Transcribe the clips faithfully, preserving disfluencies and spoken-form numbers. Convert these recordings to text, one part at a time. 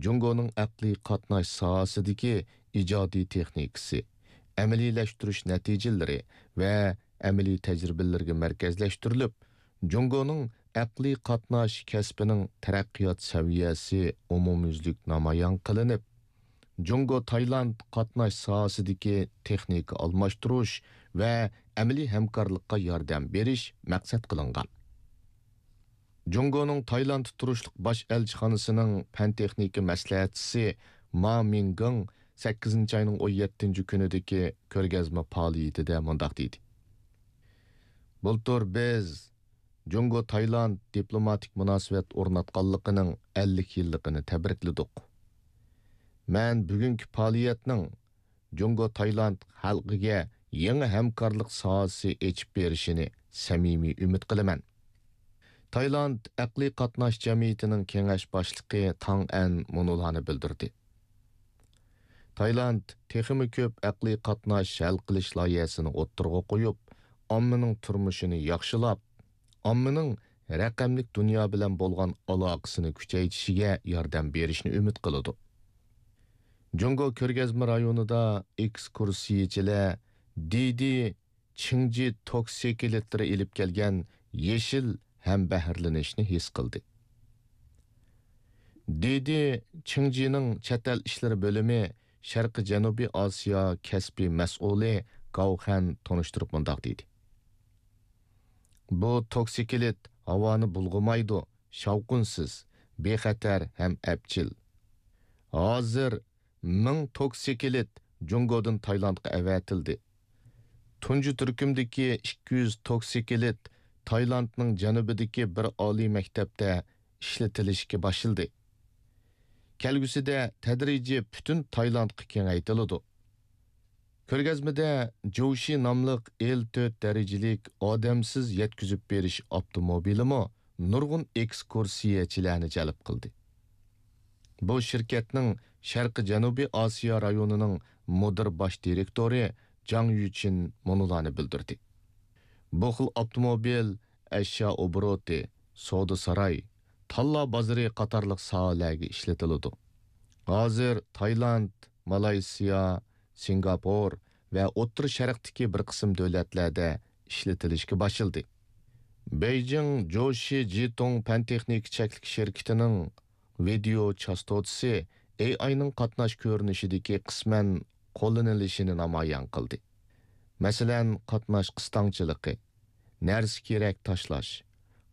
جۇڭگونىڭ ئەقلىي قاتناش ساھەسىدىكى ئىجادىي تېخنىكىسى، ئەمەلىيلەشتۈرۈش نەتىجىلىرى ۋە ئەمەلىي تەجرىبىلىرىگە مەركەزلەشتۈرۈلۈپ، جۇڭگونىڭ ئەقلىي قاتناش كەسپىنىڭ تەرەققىيات سەۋىيەسى ئومۇميۈزلۈك نامايان قىلىنىپ، جۇڭگو تايلاند قاتناش ساھەسىدىكى تېخنىكا ئالماشتۇرۇش ۋە ئەمەلىي ھەمكارلىققا ياردەم بېرىش مەقسەت قىلىنغان. جۇڭگونىڭ تايلاندتا تۇرۇشلۇق باش ئەلچىخانىسىنىڭ پەن تېخنىكا مەسلىھەتچىسى ما مىڭگېڭ سەككىزىنچى ئاينىڭ ئون يەتتىنچى كۈنىدىكى كۆرگەزمە پائالىيىتىدە مۇنداق دېدى: بۇلتۇر بىز جۇڭگو تايلاند دىپلوماتىك مۇناسىۋەت ئورناتقانلىقىنىڭ ئەللىك يىللىقىنى تەبرىكلىدۇق. مەن بۈگۈنكى پائالىيەتنىڭ جۇڭگو تايلاند خەلقىگە يېڭى ھەمكارلىق ساھەسى ئېچىپ بېرىشىنى سەمىمىي ئۈمىد قىلىمەن. تايلاند ئەقلىي قاتناش جەمئىيىتىنىڭ كېڭەش باشلىقى تاڭ ئەن مۇنۇلارنى بىلدۈردى: تايلاند تېخىمۇ كۆپ ئەقلىي قاتناش ھەل قىلىش لايىھەسىنى ئوتتۇرىغا قويۇپ، ئاممىنىڭ تۇرمۇشىنى ياخشىلاپ، ئاممىنىڭ رەقەملىك دۇنيا بىلەن بولغان ئالاقىسىنى كۈچەيتىشىگە ياردەم بېرىشنى ئۈمىد قىلىدۇ. جۇڭگو كۆرگەزمە رايونىدا ئېكسكۇرسىيىچىلەر دىدى چىڭجى توكسىكلېتلىرى ئېلىپ كەلگەن يېشىل ھەمبەھىرلىنىشنى ھېس قىلدى. دىدى چىڭجىنىڭ چەت ئەل ئىشلىرى بۆلۈمى شەرقىي جەنۇبىي ئاسىيا كەسپىي مەسئۇلى گاۋخەن تونۇشتۇرۇپ مۇنداق دېدى: بۇ توكسىكلېت ھاۋانى بۇلغىمايدۇ، شاۋقۇنسىز، بىخەتەر ھەم ئەپچىل. ھازىر مىڭ توكسىكلېت جۇڭگودىن تايلاندقا ئەۋەتىلدى. تۇنجى تۈركۈمدىكى ئىككى يۈز توكسىكلېت تايلاندنىڭ جەنۇبىدىكى بىر ئالىي مەكتەپتە ئىشلىتىلىشكە باشلىدى. كەلگۈسىدە تەدرىجىي پۈتۈن تايلاندقا كېڭەيتىلىدۇ. كۆرگەزمىدە جوشى ناملىق ئېل تۆت دەرىجىلىك ئادەمسىز يەتكۈزۈپ بېرىش ئاپتوموبىلىمۇ نۇرغۇن ئېكسكۇرسىيەچىلەرنى جەلپ قىلدى. بۇ شىركەتنىڭ شەرقىي جەنۇبىي ئاسىيا رايونىنىڭ مۇدىر باش دىرېكتورى جاڭ يۈچىن مۇنۇلارنى بىلدۈردى: بۇ خىل ئاپتوموبىل ئەشيا ئوبوروتى، سودا ساراي، تاللا بازىرى قاتارلىق ساھەلەرگە ئىشلىتىلىدۇ. ھازىر تايلاند، مالايسىيا، سىنگاپور ۋە ئوتتۇرا شەرقتىكى بىر قىسىم دۆلەتلەردە ئىشلىتىلىشكە باشلىدى. بېيجىڭ جوشى جىتۇڭ پەن تېخنىكا چەكلىك شىركىتىنىڭ ۋىدېئو چاستوتىسى ئېي ئاينىڭ قاتناش كۆرۈنۈشىدىكى قىسمەن قوللىنىلىشىنى نامايان قىلدى. مەسىلەن، قاتناش قىستاڭچىلىقى، نەرسە-كېرەك تاشلاش،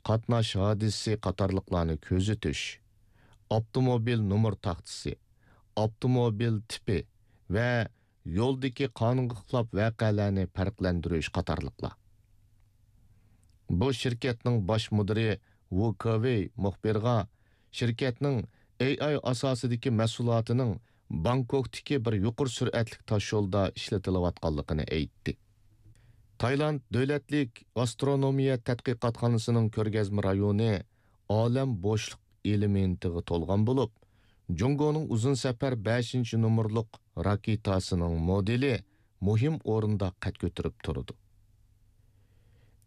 قاتناش ھادىسىسى قاتارلىقلارنى كۆزىتىش، ئاپتوموبىل نومۇر تاختىسى، ئاپتوموبىل تىپى ۋە يولدىكى قانۇنغا خىلاپ ۋەقەلەرنى پەرقلەندۈرۈش قاتارلىقلار. بۇ شىركەتنىڭ باش مۇدىرى ۋۇ كېۋېي مۇخبىرغا شىركەتنىڭ ئېي ئاي ئاساسىدىكى مەھسۇلاتىنىڭ بانكوكتىكى بىر يۇقىرى سۈرئەتلىك تاشيولدا ئىشلىتىلىۋاتقانلىقىنى ئېيتتى. تايلاند دۆلەتلىك ئاسترونومىيە تەتقىقاتخانىسىنىڭ كۆرگەزمە رايونى ئالەم بوشلۇق ئېلېمېنتىغا تولغان بولۇپ، جۇڭگونىڭ ئۇزۇن سەپەر بەشىنچى نومۇرلۇق راكېتاسىنىڭ مودېلى مۇھىم ئورۇندا قەد كۆتۈرۈپ تۇرىدۇ.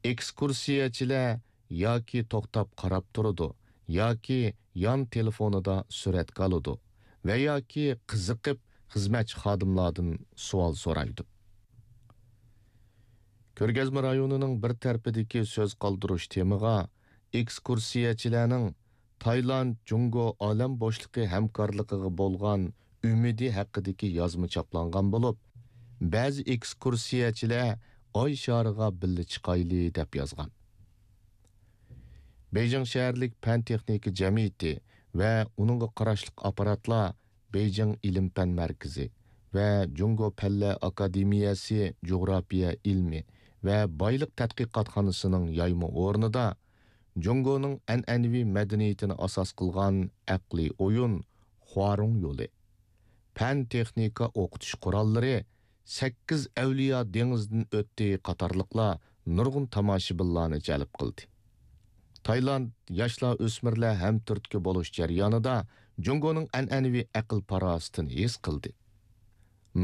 ئېكسكۇرسىيەچىلەر ياكى توختاپ قاراپ تۇرىدۇ، ياكى يان تېلېفونىدا سۈرەتكە ئالىدۇ ۋە ياكى قىزىقىپ خىزمەتچى خادىملاردىن سوئال سورايدۇ. كۆرگەزمە رايونىنىڭ بىر تەرىپىدىكى سۆز قالدۇرۇش تېمىغا ئېكسكۇرسىيەچىلەرنىڭ تايلاند، جۇڭگو ئالەم بوشلۇقى ھەمكارلىقىغا بولغان ئۈمىدى ھەققىدىكى يازما چاپلانغان بولۇپ، بەزى ئېكسكۇرسىيەچىلەر ئاي شارىغا بىللە چىقايلى دەپ يازغان. بېيجىڭ شەھەرلىك پەن تېخنىكا جەمئىيىتى ۋە ئۇنىڭغا قاراشلىق ئاپپاراتلار بېيجىڭ ئىلىم-پەن مەركىزى ۋە جۇڭگو پەنلەر ئاكادېمىيەسى جۇغراپىيە ئىلمى ۋە بايلىق تەتقىقاتخانىسىنىڭ يايما ئورنىدا جۇڭگونىڭ ئەنئەنىۋى مەدەنىيىتىنى ئاساس قىلغان ئەقلىي ئويۇن خۇارۇڭ يولى، پەن-تېخنىكا ئوقۇتۇش قوراللىرى، سەككىز ئەۋلىيا دېڭىزدىن ئۆتتى قاتارلىقلار نۇرغۇن تاماشىبىنلارنى جەلپ قىلدى. تايلاند ياشلار ئۆسمۈرلەر ھەمتۈرتكە بولۇش جەريانىدا جۇڭگونىڭ ئەنئەنىۋى ئەقىل-پاراسىتىنى ھېس قىلدى.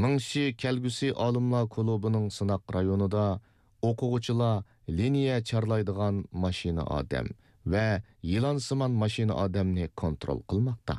مىڭشى كەلگۈسى ئالىملار كۇلۇبىنىڭ سىناق رايونىدا ئوقۇغۇچىلار لىنىيە چارلايدىغان ماشىنا ئادەم ۋە يىلانسىمان ماشىنا ئادەمنى كونترول قىلماقتا.